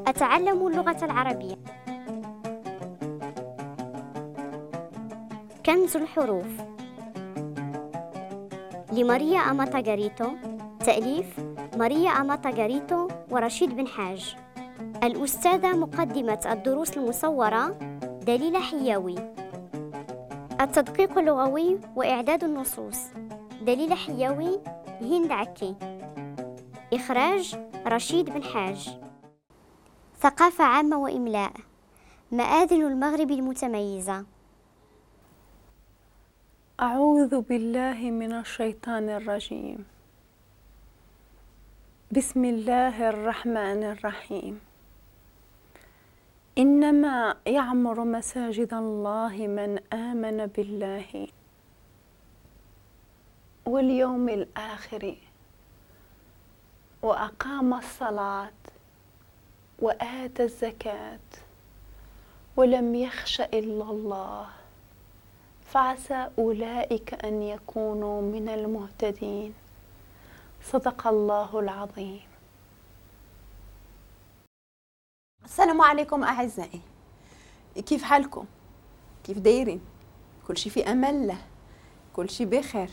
أتعلم اللغة العربية. كنز الحروف لماريا أماتا غاريتو، تأليف ماريا أماتا غاريتو ورشيد بن حاج. الأستاذة مقدمة الدروس المصورة دليلة حياوي. التدقيق اللغوي وإعداد النصوص دليلة حياوي، هند عكي. إخراج رشيد بن حاج. ثقافة عامة وإملاء. مآذن المغرب المتميزة. أعوذ بالله من الشيطان الرجيم. بسم الله الرحمن الرحيم. إنما يعمر مساجد الله من آمن بالله واليوم الآخر وأقام الصلاة وآتى الزكاة ولم يخش إلا الله، فعسى أولئك أن يكونوا من المهتدين. صدق الله العظيم. السلام عليكم أعزائي، كيف حالكم؟ كيف دايرين؟ كل شي في أمان الله، كل شي بخير.